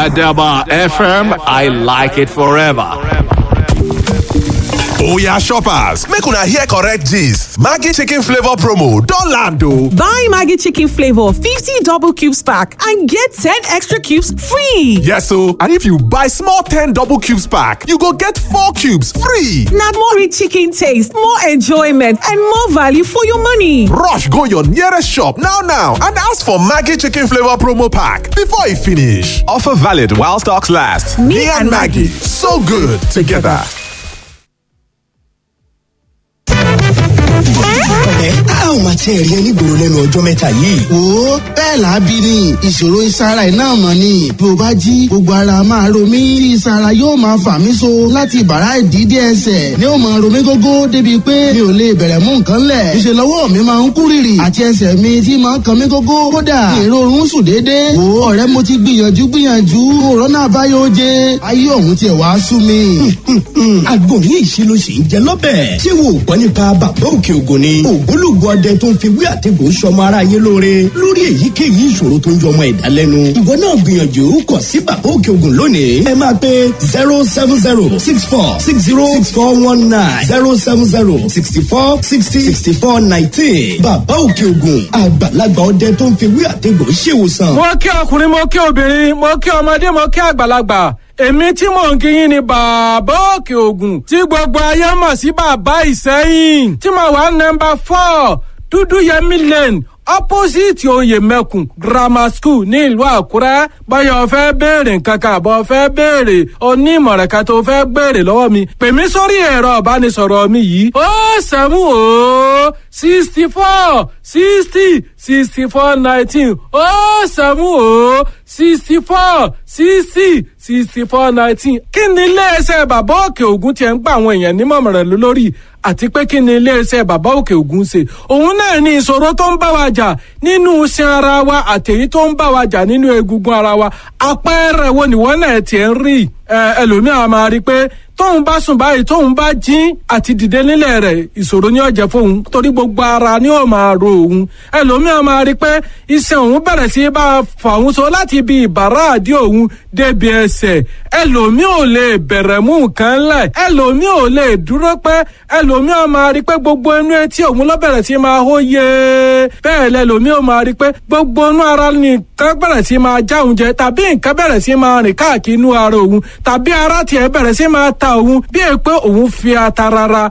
Adaba FM, I like it forever. Oya shoppers, make una hear correct gist. Maggi chicken flavor promo don land o. Buy Maggi chicken flavor 50 double cubes pack and get 10 extra cubes free. Yes o, and if you buy small 10 double cubes pack, you go get 4 cubes free. Na more rich chicken taste, more enjoyment and more value for your money. Rush go your nearest shop now now and ask for Maggi chicken flavor promo pack before e finish. Offer valid while stocks last. Me and Maggi, so good together. Ọ̀rẹ́, a ò máa tiẹ̀ rí ẹ nígboro lẹ́nu ọjọ́ mẹ́ta yìí. Wo, bẹ́ẹ̀ làábí ni ìṣòro ìsara iná mọ̀ ni. Bí o bá jí, gbogbo ara máa ro mí tí ìsara yóò máa fà mí so láti bàrá ìdídé ẹsẹ̀ ni ó máa ro mí gógó débi pé mi ò lè bẹ̀rẹ̀ mú nǹkan lẹ̀. Ìṣe lọ́wọ́ mi máa ń kú rìrì àti ẹsẹ̀ mi tí máa ń kan mí gógó. Kódà ìrorun sùn déédéé. Wo ọ̀rẹ́, mo ti gbìyànjú gbìyànjú, òrónà àbáyọ oje, ayé òun tiẹ̀ wá sú mi. Àgbo ní ìṣirò sì ń jẹ lọ́bẹ̀. Ṣé wo ò gbọ́ nípa Bàbá Òkè Ògùn ni? Ògbólógbò ọdẹ tó ń fi wí àtẹ̀gùn sọmọ ara yé lóore lórí èyíkéyìí ìṣòro tó ń jọmọ ẹ̀dá lẹ́nu. Ìwọ náà gbìyànjú kàn sí Bàbá Òkè Ògùn lónìí. Ẹ máa pe 07064606419, 07064606419. Bàbá Òkè Ògùn, àgbàlagbà ọdẹ tó ń fi wí àtẹ̀gùn ṣèwòsàn. Mo kí ọkùnrin, mo kí obìnrin, mo kí ọmọdé, mo kí àgbàlagbà. Èmi tí mò ń kíyìn ni Bàbá Òkè Ògùn tí gbogbo ayé mọ̀ sí Bàbá Ìsẹ́yìn, tí mo wà nọ́mbà 4 Dúdú Yẹmí Lane, opposite Oyè Mẹ́kùn Grammar School ní ìlú Àkúrẹ́. Báyọ̀ fẹ́ béèrè nǹkan kan àbọ̀ fẹ́ béèrè onímọ̀ràn kan tó fẹ́ béèrè lọ́wọ́ mi, pè mí sórí ẹ̀rọ ìbánisọ̀rọ̀ mi yìí: 070 64 60 64 19, 070 64 60 64 19. Kí ni iléeṣẹ́ Bàbá Òkè Ògùn tiẹ̀ ń gba àwọn èèyàn nímọ̀ràn lórí, àti pé kí ni iléeṣẹ́ Bàbá Òkè Ògùn ṣe? Òun náà ní ìṣòro tó ń bá wa jà nínú iṣan ara wa àtèyí tó ń bá wa jà nínú egungun ara wa. Àpẹẹrẹ wo nìwọ náà tiẹ̀ ń rí? Ẹlòmíràn máa rí i pé tóun bá sùn báyìí, tóun bá jí, àti dìde nílẹ̀ rẹ̀, ìṣòro ni ó jẹ́ fóun, torí gbogbo ara ni ó máa ro òun. Ẹlòmíràn máa rí pé iṣan òun bẹ̀rẹ̀ sí bá a fà òun so láti ibi ìbàrá àdí òun débi ẹsẹ̀. Ẹlòmíì ò lè bẹ̀rẹ̀ mú nǹkan lẹ̀, ẹlòmíì ò lè dúró pẹ́. Ẹlòmíì máa rí pé gbogbo inú etí òun ló bẹ̀rẹ̀ sí máa hó yé. Bẹ́ẹ̀ lẹlòmíì ò máa rí pé gbogbo inú ara nìkan bẹ̀rẹ̀ sí máa já òun jẹ, tàbí nǹkan bẹ̀rẹ̀ sí máa rìn káàkiri inú ara òun, tàbí ara tiẹ̀ bẹ̀rẹ̀ sí máa ta òun bí è pé òun fi ata rárá.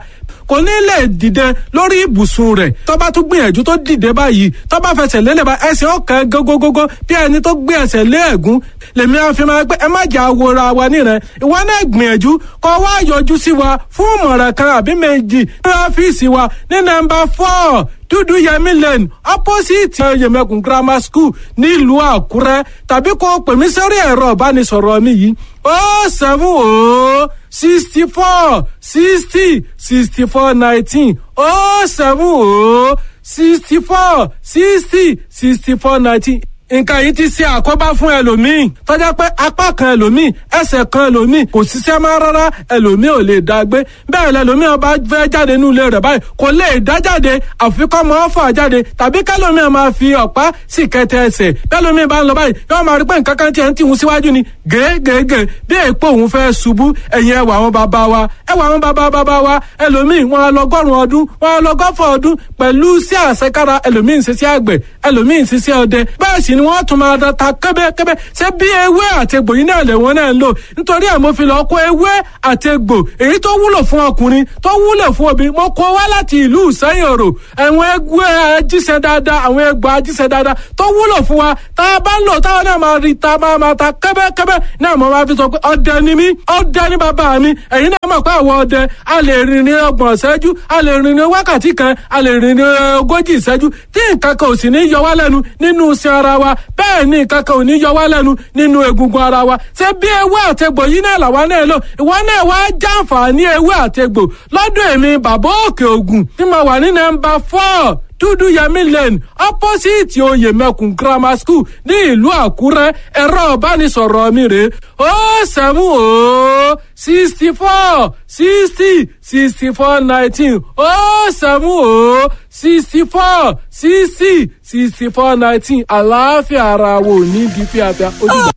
Kò ní lè dìde lórí ibùsùn rẹ̀. Tó bá tún gbìyànjú tó dìde báyìí, tó bá fẹsẹ̀ lélẹ̀ bá, ẹsẹ̀ ọ̀kan gógógógó bí ẹni tó gbé ẹsẹ̀ lé ẹ̀gún. Lèmi á fi máa pé ẹ má jà wòra wa nìrẹ̀. Ìwọ náà gbìyànjú kó wá yọjú sí wa fún ìmọ̀ràn kan àbí méjì ní ọ́fíìsì wa ní nọ́mbà 4 Dúdú Yẹmí Lane, opposite Yẹmẹkùn Grammar School nílùú Àkúrẹ́, tàbí kó pè mí sórí ẹ̀rọ ìbánisọ̀rọ̀ mi yìí: 070 64 60 64 19, 070 64 60 64 19. Nǹkan yìí ti ṣe àkóbá fún ẹlòmíì tọ́jà pé apá kan ẹlòmíì, ẹsẹ̀ kan ẹlòmíì kò ṣiṣẹ́ mọ́ rárá. Ẹlòmíì ò lè dá gbé bẹ́ẹ̀. Lẹlòmíì ọba fẹ́ jáde nínú ilé rẹ̀ báyìí, kò lè dá jáde, àfi kọ́ mọ́ fà jáde, tàbí kẹlòmíì máa fi ọ̀pá sì kẹtẹ ẹsẹ̀. Bẹ́ẹ̀lòmíì bá ń lọ báyìí, yóò máa rí pé nǹkan kan tiẹ̀ ń tìhun síwájú ni gègègè, bí èèpo òun fẹ́ ṣubú. Ẹ̀yìn ẹwà àwọn bàbá wa, ẹwà àwọn bàbá bàbá wa, ẹlòmíì wọn lọgọ́rùn ọdún, wọn lọgọ́fọ̀ ọdún pẹ̀lú sí àṣekára. Ẹlòmíì ń ṣiṣẹ́ àgbẹ̀, ẹlòmíì ń ṣiṣẹ́ ọdẹ, bẹ́ẹ̀ sì ni wọ́n tún máa ta kẹ́bẹ́kẹ́bẹ́. Ṣé bí ewé àti egbò yìí náà lè wọ́n náà ń lò? Nítorí ẹ̀ mo fi lọ kó ewé àti egbò èyí tó wúlò fún ọkùnrin, tó wúlò fún obìnrin, mo kó wá láti ìlú Ìsẹ́yìn Òrò. Àwọn egbò ajíṣẹ́ dáadáa, àwọn egbò ajíṣẹ́ dáadáa tó wúlò fún wa, tá a bá ń lò táwọn náà máa rí ta máa máa ta kẹ́bẹ́kẹ́bẹ́ náà. Mo máa fi sọ pé ọdẹ ni mí, ọdẹ ni bàbá mi. Ẹ̀yin náà mọ̀ pé àwọn ọdẹ a lè rìn ní 30 ìṣẹ́jú, a lè rìn ní wákàtí kan, a lè rìn ní 40 ìṣẹ́jú, tí nǹkan kan ò sì ní yọ wá lẹ́nu nínú iṣan ara wa. Bẹ́ẹ̀ ni nǹkan kan ò ní yọ wá lẹ́nu nínú egungun ara wa. Ṣé bí ewé àtegbò yìí náà làwa náà lò? Ìwọ náà wá jàǹfààní ewé àtegbò lọ́dọ̀ èmi Bàbá Òkè Ògùn tí mo wà ní nọ́mbà 4 Dúdú Yẹmí Lane, opposite Oyè Mẹ́kùn Grammar School ní ìlú Àkúrẹ́. Ẹ̀rọ ìbánisọ̀rọ̀ mi rèé: 070 64 60 64 19, 070 64 60 64 19. Àlàáfíà ara wo ní di fíafíà ó dìgbà.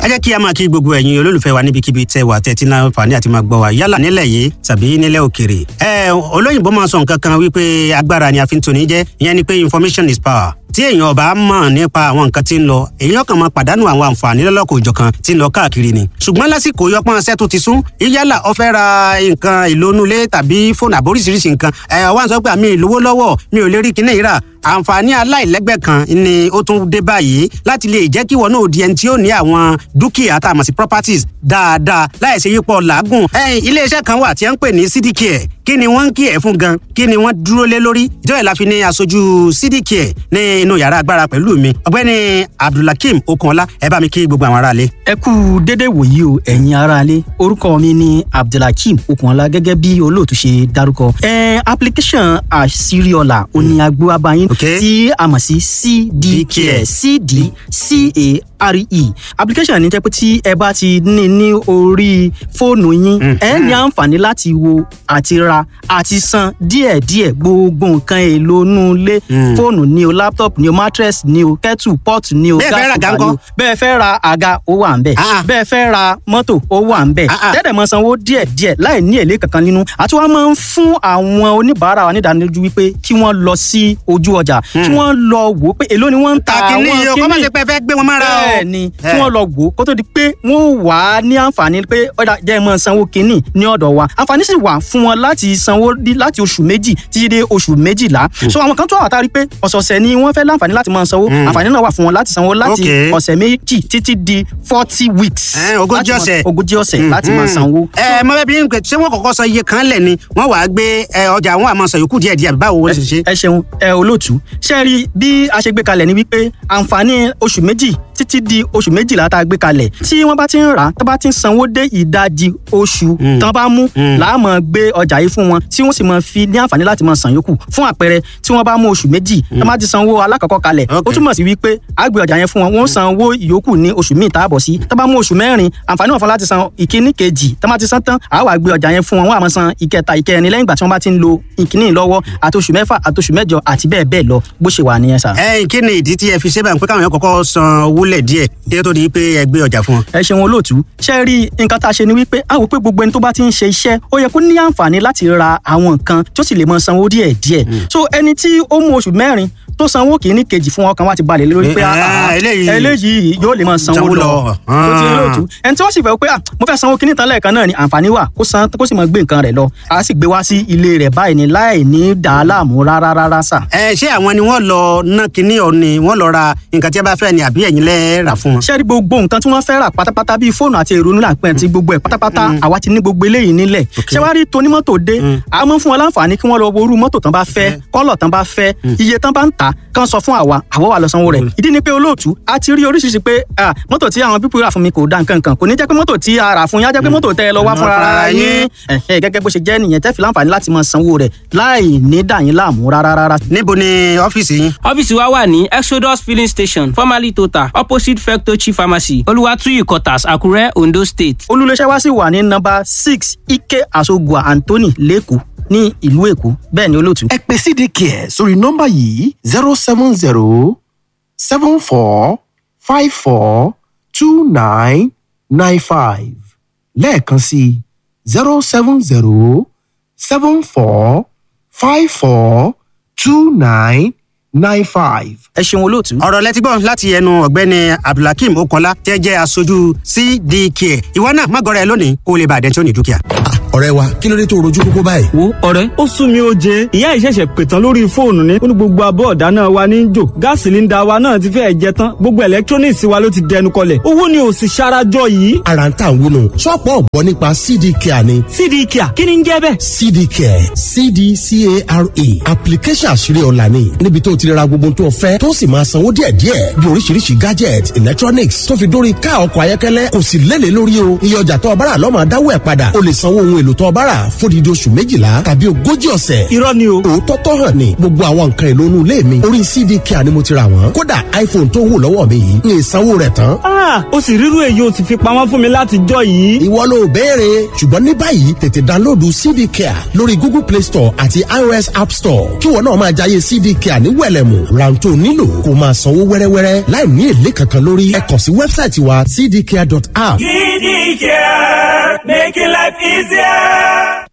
Ẹ jẹ́ kí a máa kí gbogbo ẹ̀yin olólùfẹ́ wa níbikíbi tẹ́ wà tẹ́tí náà fàní àti máa gbọ́ wa yálà nílẹ̀ yìí tàbí nílẹ̀ òkèrè. Ẹ olóyìnbó máa sọ nǹkan kan wípé agbára ni a fi ń toni jẹ́, ìyẹn ni pé information is power. Tí èèyàn ọba mọ̀ nípa àwọn nǹkan tí ń lọ, èèyàn kàn máa pàdánù àwọn àǹfààní lọ́lọ́kọ̀ òjọ̀kan tí ń lọ káàkiri ni. Ṣùgbọ́n lásìkò yọpọ́n ṣẹ́ tó ti sún, yálà ó fẹ́ ra nǹkan ìlónúlé tàbí fóònù àbóríṣiríṣi nǹkan, ẹ̀ wá ń sọ pé àmì ìlówó lọ́wọ́, mi ò lè rí kinní yìí rà. Àǹfààní aláìlẹ́gbẹ́ kan ni ó tún dé báyìí láti lè jẹ́ kí wọn náà di ẹni tí ó ní àwọn dúkìá tá a mọ̀ sí properties dáadáa láìsí yípo làágùn. Iléeṣẹ́ kan wà tí a ń pè ní CDCare. Kí ni wọ́n ń kí ẹ̀ fún gan? Kí ni wọ́n dúró lé lórí? Ìjọba ìlàfi ní aṣojú CDCare ní inú yàrá agbára pẹ̀lú mi, ọ̀gbẹ́ni Abdulhakeem Okunọlá. Ẹ bá mi kí gbogbo àwọn aráalé. Ẹ kú dédé wòyí o, ẹ̀yin aráalé. Orúkọ mi ni Abdulhakeem Okunọlá, gẹ́gẹ́ bí olóòtú ṣe dárúkọ. Application àṣírí-ọ̀la òní agbó abayín tí a mọ̀ sí CDCare, CDCARE. Application ní jẹ́ pé tí ẹ bá ti ní ní orí fóònù yín, ẹ ní àǹfààní láti wo àti ra àti san díẹ̀díẹ̀ gbogbo nǹkan èlò inú ilé, fóònù ni o, laptop ni o, mattress ni o, kettle pot ni o, gas cooker ni o. Bẹ́ẹ̀ fẹ́ ra àga, ó wà ń bẹ̀. Bẹ́ẹ̀ fẹ́ ra mọ́tò, ó wà ń bẹ̀. Tẹ́lẹ̀ mọ sanwó díẹ̀díẹ̀ láì ní èlé kankan nínú. Àti wọ́n máa ń fún àwọn oníbàárà wa nídánilójú wípé kí wọ́n lọ sí ojú ọjà, kí wọ́n lọ wò ó pé èló ni wọ́n ń ta àwọn kíní. Kọ́ má ṣe pé ẹ fẹ́ gbé wọn mára o. Bẹ́ẹ̀ ni, kí wọ́n lọ wò ó kó tó di pé wọ́n wà á ní àǹfààní pé ọ̀dà jẹ́ mọ́ sanwó kíní ní ọ̀dọ̀ wa. Àǹfààní sì wà fún wọn láti sanwó láti oṣù 2 títí dé oṣù 12. So àwọn kan tó wà tá a rí pé ọ̀sọ̀ọ̀sẹ̀ ni wọ́n fẹ́ láǹfààní láti máa sanwó, àǹfààní náà wà fún wọn láti sanwó láti ọ̀sẹ̀ 2 títí di 40 weeks. 40 ọ̀sẹ̀. 40 ọ̀sẹ̀ láti máa sanwó. Ẹ mọ bẹ́ẹ̀ bí n pè, ṣé wọ́n kọ́kọ́ sọ iye kan lẹ̀ ni wọ́n wàá gbé ọjà àwọn àmọ́ sọ yòókù díẹ̀ díẹ̀, báwo wọ́n ṣe ṣe? Ẹ ṣeun ẹ olóòtú. Ṣe rí bí a ṣe gbé kalẹ̀ ni wípé àǹfààní oṣù 2 títí di oṣù 12 tá a gbé kalẹ̀, tí wọ́n bá ti ń rà, tó bá ti ń sanwó dé ìdajì oṣù tán bá mú, làá máa gbé ọjà yìí fún wọn, tí wọ́n sì máa fi ní àǹfààní láti máa san yòókù. Fún àpẹẹrẹ, tí wọ́n bá mú oṣù 2, tán bá ti sanwó alákọ̀ọ́kọ́ kalẹ̀, ó túmọ̀ sí wípé a gbé ọjà yẹn fún wọn, wọ́n san owó ìyókù ní oṣù míì táàbọ̀ sí. Tán bá mú oṣù 4, àǹfààní wọn fún láti san ìkíní kejì. Tán bá ti san tán, a wá gbé ọjà yẹn fún wọn, wọ́n á máa san ìkẹta, ìkẹrin lẹ́yìn ìgbà tí wọ́n bá ti ń lo ìkíní lọ́wọ́, àti oṣù 6 àti oṣù 8 àti bẹ́ẹ̀ bẹ́ẹ̀ lọ, bó ṣe wà nìyẹn sà. Ẹ kí ni ìdí tí ẹ fi ṣe báyìí pé káwọn yẹn kọ́kọ́ san owó lẹ̀ díẹ̀ kí ó tó di pé ẹ gbé ọjà fún wọn? Ẹ ṣeun olóòtú. Ṣe rí nǹkan tá a ṣe ni wípé a wò pé gbogbo ẹni tó bá ti ń ṣe iṣẹ́, ó yẹ kó ní àǹfààní láti ra àwọn nǹkan tó sì lè mọ sanwó díẹ̀ díẹ̀. So ẹni tí ó mú oṣù 4 tó sanwó kìíní kejì fún, ọkàn wa ti balẹ̀ lórí pé eléyìí yóò lè máa sanwó lọ. Tó ti olóòtú, ẹni tí wọ́n sì fẹ́ pé mo fẹ́ sanwó kìíní tán lẹ́ẹ̀kan náà ni, àǹfààní wà kó san, kó sì máa gbé nǹkan rẹ̀ lọ. A sì gbé wá sí ilé rẹ̀ báyìí ni láì ní dà á láàmú rárá rárá sà. Ẹ ṣé àwọn ni wọ́n lọ ná kinní ọ ni wọ́n lọ ra nǹkan tí a bá fẹ́ ni, àbí ẹ̀yin lẹ́ rà fún wọn? Ṣé rí gbogbo nǹkan tí wọ́n fẹ́ rà pátápátá, bíi fóònù àti èrò nílà pẹ́ àti gbogbo ẹ̀ pátápátá, àwa ti ní gbogbo eléyìí nílẹ̀. Ṣé wàá rí tonímọ́tò dé, a máa ń fún wọn láǹfààní kí wọ́n lọ wo irú mọ́tò tán bá fẹ́, kọ́lọ̀ tán bá fẹ́, iye tán bá ń tà, kán sọ fún àwa, àwa wà lọ sanwó rẹ̀. Ìdí ni pé olóòtú, a ti rí oríṣiríṣi pé mọ́tò tí àwọn pípọ̀ rà fún mi kò da nǹkan kan. Kò ní jẹ́ pé mọ́tò tí a rà fún yín á jẹ́ pé mọ́tò tẹ́ ẹ lọ wá fúnra ara yín. Gẹ́gẹ́ bó ṣe jẹ́ nìyẹn, tẹ́ fi láǹfààní láti máa sanwó rẹ̀ láì ní dà yín láàmú rárá rárá. Níbo ni ọ́fíìsì yín? Ọ́fíìsì wa wà ní Exodus Filling Station, formerly Total, opposite Fectochi Pharmacy, Olúwàtúyì Quarters, Àkúrẹ́, Ondo State. Olúléeṣẹ́ wa sì wà ní nọ́mbà 6 Ike Asogua Anthony, lẹ́kọ̀ọ́ ní ìlú Èkó. Bẹ́ẹ̀ ni olóòtú. Ẹ pè CDCare sórí nọ́mbà yìí: 070 74 54 29 95. Lẹ́ẹ̀kan sí: 070 74 54 29 95. Ẹ ṣeun olóòtú. Ọ̀rọ̀ lẹ́tí gbọ́ láti ẹnu ọ̀gbẹ́ni Abdulhakeem Okanla, tẹ́ jẹ́ aṣojú CDK. Ìwọ náà má gọrẹ lónìí kó o lè bàdẹ́ tí ó ní dúkìá. Ọ̀rẹ́ wa, kí ló dé tó rojú kókó báyìí? Wo ọ̀rẹ́, ó sún mi ó jẹ. Ìyá ìṣẹ̀ṣẹ̀ pètàn lórí fóònù ni ó ní gbogbo abọ́ ọ̀dá náà wa ní jò, gáàsì líńdà wa náà ti fẹ́ẹ̀ jẹ tán, gbogbo electronics wa ló ti dẹnu kọlẹ̀, owó ni ò sì ṣarajọ yìí. Ara ń tà ń wúnu, ṣọ́ọ̀pù ọ̀gbọ́n nípa CD Care ni. CD Care, kí ni ń jẹ́ bẹ́ẹ̀? CD Care, CDCARE, application àṣírí ọ̀la ni, níbi tó ti ra gbogbo tó fẹ́, tó sì máa sanwó díẹ̀díẹ̀, bí oríṣiríṣi gadget, electronics, tó fi dórí ká ọkọ̀ ayọ́kẹ́lẹ́. Kò sì lélẹ̀ lórí o. Iye ọjà tó ọbára lọ́mọ dáwọ́ ẹ̀ padà. O lè sanwó ohun èlò èlò tó o bá rà fódìdí oṣù 12 tàbí 40 ọ̀sẹ̀. Irọ́ ni o. Òótọ́ tó hàn ní gbogbo àwọn nǹkan èlò inú ilé mi orí CDK ni mo ti rà wọ́n. Kódà iPhone tó wù lọ́wọ́ mi yìí ní ìsanwó rẹ̀ tán. Ah, ó sì rírú èyí ó sì fi pamọ́ fún mi láti jọ yìí. Ìwọ ló béèrè, ṣùgbọ́n ní báyìí tètè dánlóòdù CDK lórí Google Play Store àti iOS App Store kí wọn náà máa jayé CDK ní wẹ̀lẹ̀mù. Rántó nílò kó máa sanwó wẹ́rẹ́wẹ́rẹ́ láì ní èlé kankan lórí. Ẹ kàn sí wẹ́bsáìtì wa cdcare.app. CDK, making life easier.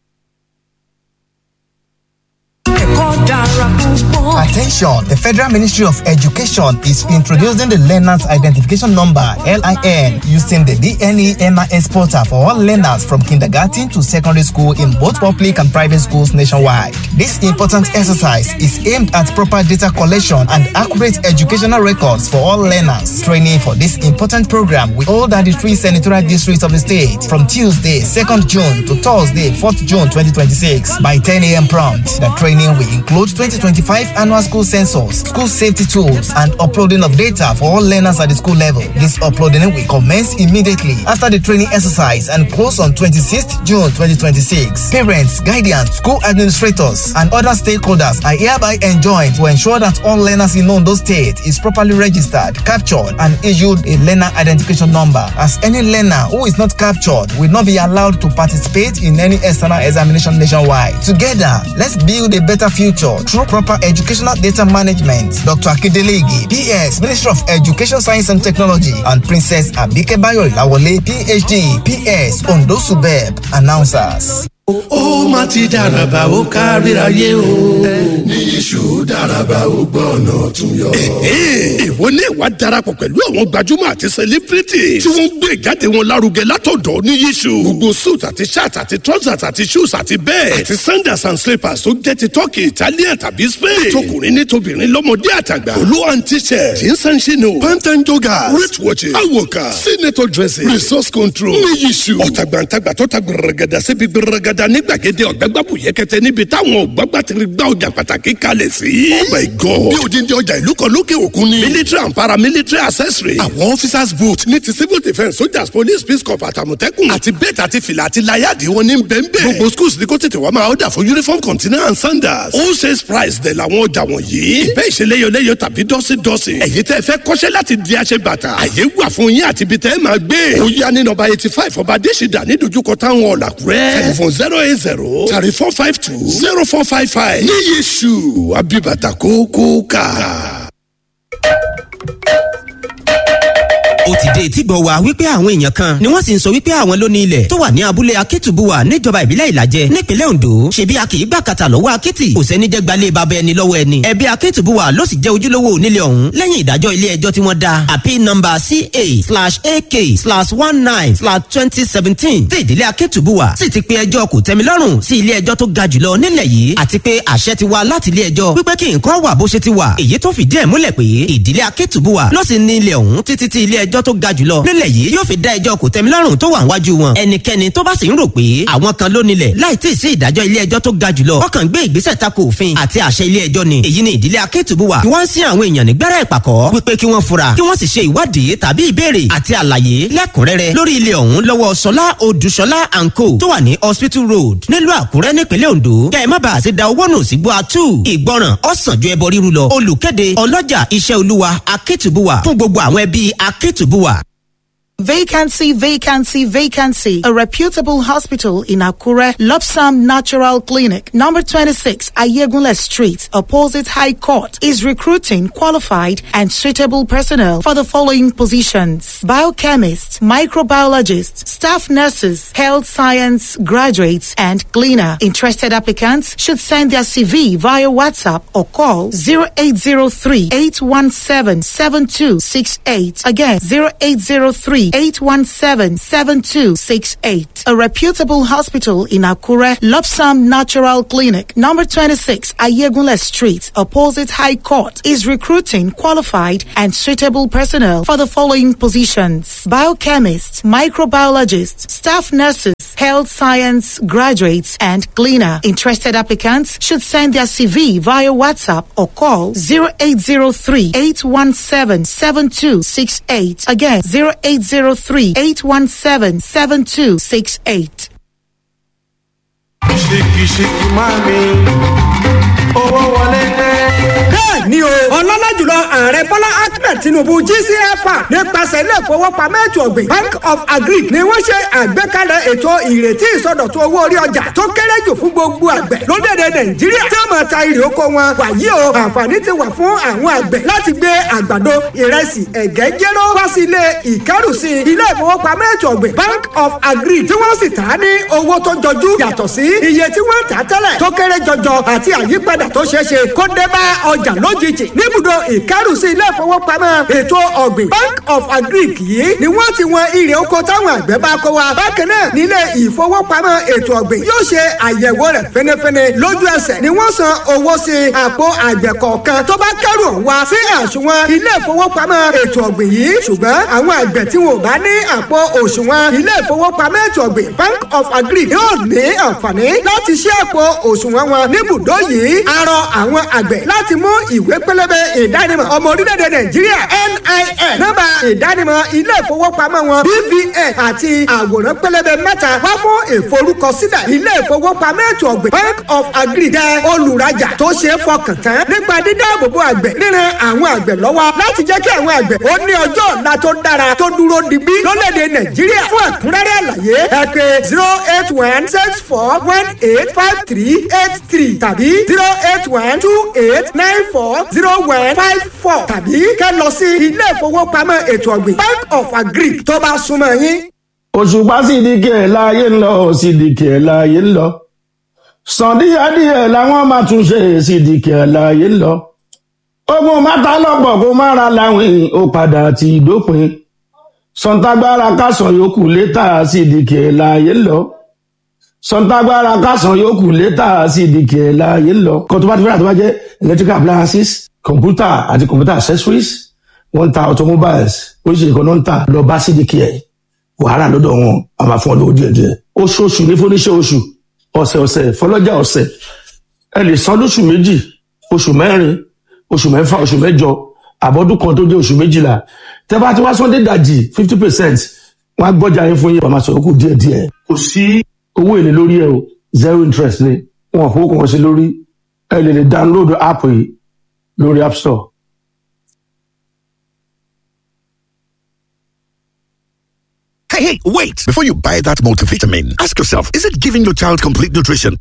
Attention! The Federal Ministry of Education is introducing the Learner's Identification Number (LIN) using the DNE MIS portal for all learners from kindergarten to secondary school in both public and private schools nationwide. This important exercise is aimed at proper data collection and accurate educational records for all learners. Training for this important program will hold at the 3 senatorial districts of the state from Tuesday, 2nd June to Thursday, 4th June 2026 by 10 a.m. prompt. The training will include 2025 annual school census, school safety tools, and uploading of data for all learners at the school level. This uploading will commence immediately after the training exercise and close on 26th June 2026. Parents, guardians, school administrators, and other stakeholders are hereby enjoined to ensure that all learners in Ondo State is properly registered, captured, and issued a learner identification number, as any learner who is not captured will not be allowed to participate in any external examination nationwide. Together, let's build a better future through proper educational data management. Dr. Akindele Ige, PS, Ministry of Education, Science and Technology, and Princess Abike Bayo Ilawole, PhD, PS, Ondo Subeb, announcers. Ó má ti dàràbà, ó káríayé o. Ní iṣu dàràbà, ó gbọ́ ọ̀nà ọ̀tún yọ. Ìwọ ní ìwà darapọ̀ pẹ̀lú àwọn gbajúmọ̀ àti celebrity tí wọ́n ń gbé ìjáde wọn lárugẹ látọ̀dọ̀ ní yíṣu. Gbogbo suit àti shirt àti trousers àti shoes àti bẹ́ẹ̀ àti sandals and slippers tó jẹ́ ti Turkey, Italian tàbí Spain. Tọkùnrin ní tobìnrin, lọ́mọdé àtàgbà. Olú and t-shirt, jeans and chino, pant and joggers, wrist watches, awoka, senator dressing, resource control ní yíṣu. Ọ̀tàgbàǹtàgbà tó ta gbẹrẹgẹdà síbi gbẹrẹgẹdà ní gbàgede ọ̀gbẹ́gbàbù yẹkẹtẹ níbi táwọn ọ̀gbàgbà ti gbá ọjà pàtàkì kalẹ̀ sí. Oh my God! Bí odindi ọjà ìlú kan lókè òkun ni. Military and paramilitary accessory. Àwọn officers boot ní ti civil defence, soldiers, police, peace corps, àtàmọ̀tẹ́kùn. Àti bẹ́ẹ̀tì àti fìlà àti láyàdì wọn ní bẹ́ẹ̀nbẹ́ẹ̀. Gbogbo schools ní kó tètè wá máa ọ̀dà fún uniform container and sandals. Ó ṣe price dẹ̀ làwọn ọjà wọ̀nyí. Ìbẹ́ ìṣeléyọléyọ tàbí dọ́sídọ́sí. Ẹ̀yin tẹ́ fẹ́ kọ́ṣẹ́ láti di aṣebàtà. Àyè wà fún yín àti ibi tẹ́ máa gbé. Ó yá ní nọ́mbà 85 Ọba Adésìdá ní dojúkọ táwọn ọ̀làkúrẹ́. Telephone 08034520455. Ní Yéṣu Abibata kókó ká. Ó ti dé etí gbọ́ wa wípé àwọn èèyàn kan ni wọ́n sì ń sọ wípé àwọn ló ní ilẹ̀ tó wà ní abúlé Akétùbúwà níjọba ìbílẹ̀ Ìlàjẹ nípínlẹ̀ Ondo. Ṣebí a kì í gbà kàtà lọ́wọ́ akétì, kò sẹ́ni jẹ́ gbalé bàbá ẹni lọ́wọ́ ẹni. Ẹbí Akétùbúwà ló sì jẹ́ ojúlówó onílé ọ̀hún lẹ́yìn ìdájọ́ ilé ẹjọ́ tí wọ́n dá appeal number CA/AK/19/2017 tí ìdílé Akétùbúwà sì ti pe ẹjọ́ kò tẹ́milọ́rùn sí ilé ẹjọ́ tó ga jùlọ nílẹ̀ yìí, àti pé àṣẹ ti wá láti ilé ẹjọ́ wípé kí nǹkan wà bó ṣe ti wà, èyí tó fìdí ẹ̀ múlẹ̀ pé ìdílé Akétùbúwà ló sì ní ilẹ̀ ọ̀hún títí tí ilé ẹjọ́ tó ga jùlọ nílẹ̀ yìí yóò fi dá ẹjọ́ kò tẹ́milọ́rùn tó wà níwájú wọn. Ẹnikẹ́ni tó bá sì ń rò pé àwọn kan ló nílẹ̀ láì tí ì sí ìdájọ́ ilé ẹjọ́ tó ga jùlọ, wọ́n kàn gbé ìgbésẹ̀ tako òfin àti àṣẹ ilé ẹjọ́ ni. Èyí ni ìdílé Akétùbúwà tí wọ́n ń sin àwọn èèyàn nígbẹ́rẹ́ ìpàkọ́ wípé kí wọ́n fura, kí wọ́n sì ṣe ìwádìí tàbí ìbéèrè àti àlàyé lẹ́kùnrẹ́rẹ́ lórí ilé ọ̀hún lọ́wọ́ Sọlá Odùṣọlá and Co tó wà ní Hospital Road nílùú Àkúrẹ́ nípínlẹ̀ Ondo. Kẹ́ ẹ má bàa sí da owó nù sígbó atú. Ìgbọràn ọ̀sán ju ẹbọ ríru lọ. Olùkéde ọlọ́jà Iṣẹ́ Olúwa Akétùbúwà fún gbogbo àwọn ẹbí Akétùbúwà. Vacancy, vacancy, vacancy. A reputable hospital in Akure, Lopsam Natural Clinic, number 26, Ayegunle Street, opposite High Court, is recruiting qualified and suitable personnel for the following positions: biochemists, microbiologists, staff nurses, health science graduates, and cleaner. Interested applicants should send their CV via WhatsApp or call 0803 817 7268. Again, 0803 817 7268. A reputable hospital in Akure, Lopsam Natural Clinic, number 26, Ayegunle Street, opposite High Court, is recruiting qualified and suitable personnel for the following positions: biochemists, microbiologists, staff nurses, health science graduates, and cleaner. Interested applicants should send their CV via WhatsApp or call 0803 817 7268. Again, 0803 817 7268. Ṣìkìṣìkì máa mi, owó wọlé dé. Bẹ́ẹ̀ ni o, ọlọ́lá jùlọ Ààrẹ Bọ́lá Ahmed Tinubu GCFR nípasẹ̀ ilé ìfowópamọ́ ètò ọ̀gbìn Bank of Agric ni wọ́n ṣe àgbékalẹ̀ ètò ìrètí ìsọdọ̀tun owó orí ọjà tó kéré jù fún gbogbo àgbẹ̀ lórílẹ̀‐èdè Nàìjíríà tí wọ́n máa ta irè oko wọn. Wàyí o, àǹfààní ti wà fún àwọn àgbẹ̀ láti gbé àgbàdo, ìrẹsì, ẹ̀gẹ́, jéró wá sí ilé ìkẹ́rùsí ilé ìfowópamọ́ ètò ọ̀gbìn Bank of Agric tí wọ́n sì tà á ní owó tó jọjú yàtọ̀ sí iye tí wọ́n tà á tẹ́lẹ̀ tó kéré jọjọ àti àyípadà tó ṣeé ṣe kó dé bá ọjà lójijì. Níbùdó ìkẹ́rùsí ilé ìfowópamọ́ ètò ọ̀gbìn Bank of Agric yìí ni wọ́n ti wọn irè oko táwọn àgbẹ̀ bá kó wa. Bákan náà nílé ìfowópamọ́ ètò ọ̀gbìn yóò ṣe àyẹ̀wò rẹ̀ fẹ́nẹ́fẹ́nẹ́ lójú ẹsẹ̀ ni wọ́n san owó sí àpò àgbẹ̀ kọ̀ọ̀kan tó bá kẹ́rù ọ̀hún wá sí àsùnwọ̀n ilé ìfowópamọ́ ètò ọ̀gbìn yìí. Ṣùgbọ́n àwọn àgbẹ̀ tí wọn ò bá ní àpò òṣùwọ̀n ilé ìfowópamọ́ ètò ọ̀gbìn Bank of Agric yóò ní àǹfààní láti ṣí àpò òṣùwọ̀n wọn níbùdó yìí. A rọ àwọn àgbẹ̀ láti mú ìwé pélébé ìdánimọ̀ ọmọ orílẹ̀-èdè Nàìjíríà NIN, nọ́mbà ìdánimọ̀ ilé ìfowópamọ́ wọn BVN àti àwòrán pélébé mẹ́ta wá fún ìforúkọsílẹ̀. Ilé ìfowópamọ́ ètò ọ̀gbìn Bank of Agric jẹ́ olùrajà tó ṣe é fọkàn tán nípa dídáàbòbò àgbẹ̀, ríran àwọn àgbẹ̀ lọ́wọ́ láti jẹ́ kí àwọn àgbẹ̀ ó ní ọjọ́ ọ̀la tó dára tó dúró digbí lórílẹ̀-èdè Nàìjíríà. Fún ẹ̀kúnrẹ́rẹ́ àlàyé ẹ pè 08164185383 tàbí 08128940154 tàbí kẹ́ lọ sí ilé ìfowópamọ́ ètò ọ̀gbìn Bank of Agric tó bá súnmọ́ yín. Òṣùpá Sídìkì ẹ̀ láàyè ń lọ, Sídìkì ẹ̀ láàyè ń lọ. Sàn díẹ̀díẹ̀ làwọn máa tún ṣe, Sídìkì ẹ̀ láàyè ń lọ. Ogun mátà lọ́pọ̀ kó má ra láwìn, ó padà ti dópin. Sọ̀ǹtàgbára kásán yòókù létà, Sídìkì ẹ̀ láàyè ń lọ. Sọ̀ǹtàgbára kásán yòókù létà, Sídìkì ẹ̀ láàyè ń lọ. Kan tó bá ti fẹ́ràn tó bá jẹ́ electrical appliances, computer àti computer accessories, wọ́n ń ta automobiles, oríṣiríṣi kan náà ń tà. Lọ bá Sídìkì ẹ̀, wàhálà lọ́dọ̀ wọn a máa fún ọ lówó díẹ̀ díẹ̀. Oṣooṣù ní fúnníṣẹ́ oṣù, ọ̀sẹ̀ ọ̀sẹ̀ fọlọ́jà ọ̀sẹ̀. Ẹ lè san lóṣù 2, oṣù 4, oṣù 6, oṣù 8, àbọ̀dún kan tó jẹ́ oṣù 12. Tẹ́ bá ti wá sọ́ndé dàjì 50%, wọ́n á gbọ́jà yín fún yín, wọ́n máa sọ̀rọ̀ kù díẹ̀ díẹ̀. Kò sí owó èlé lórí ẹ o, zero interest ni. Wọn ò fowó kan sí lórí. Ẹ lè lè download app yìí lórí App Store. Hey, hey, wait! Before you buy that multivitamin, ask yourself, is it giving your child complete nutrition?